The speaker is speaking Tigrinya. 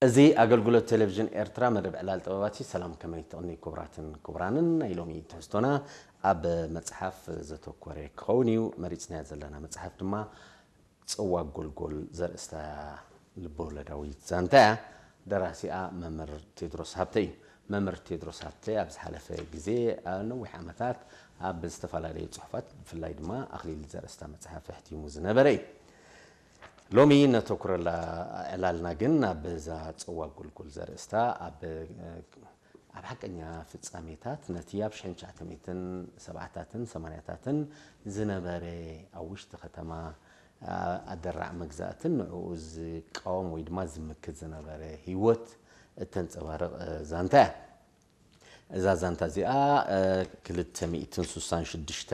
እዚ ኣገልግሎት ቴሌቪዥን ኤርትራ መደብ ዕላል ጥበባት እዩ። ሰላም፣ ከመይ ትቕኒ ክቡራትን ክቡራንን? ናይ ሎሚ ትሕዝቶና ኣብ መጽሓፍ ዘተኮረ ክኸውን እዩ። መሪጽናያ ዘለና መጽሓፍ ድማ ጽዋ ጎልጎል ዘርእስታ ልበወለዳዊት ዛንታ እያ። ደራሲኣ መምህር ቴድሮስ ሃብተ እዩ። መምህር ቴድሮስ ሃብተ ኣብ ዝሓለፈ ግዜ፣ ኣብ ነዊሕ ዓመታት ኣብ ዝተፈላለዩ ጽሑፋት፣ ብፍላይ ድማ ኣኽሊል ዘርእስታ መጽሓፍ ኣሕቲሙ ዝነበረ እዩ። ሎሚ ነተኩረላ ዕላልና ግን ኣብ እዛ ጽዋ ጎልጎል ዘርእስታ ኣብ ኣብ ሓቀኛ ፍጻሜታት ነቲ ኣብ ሽሕን ትሽዓተ ሚእትን ሰብዓታትን ሰማንያታትን ዝነበረ ኣብ ውሽጢ ከተማ ኣደራዕ መግዛእትን ንዕኡ ዝቃወም ወይ ድማ ዝምክት ዝነበረ ህይወት እተንጸባርቕ ዛንታ እያ። እዛ ዛንታ እዚኣ ክልተ ሚእትን ስሳን ሽዱሽተ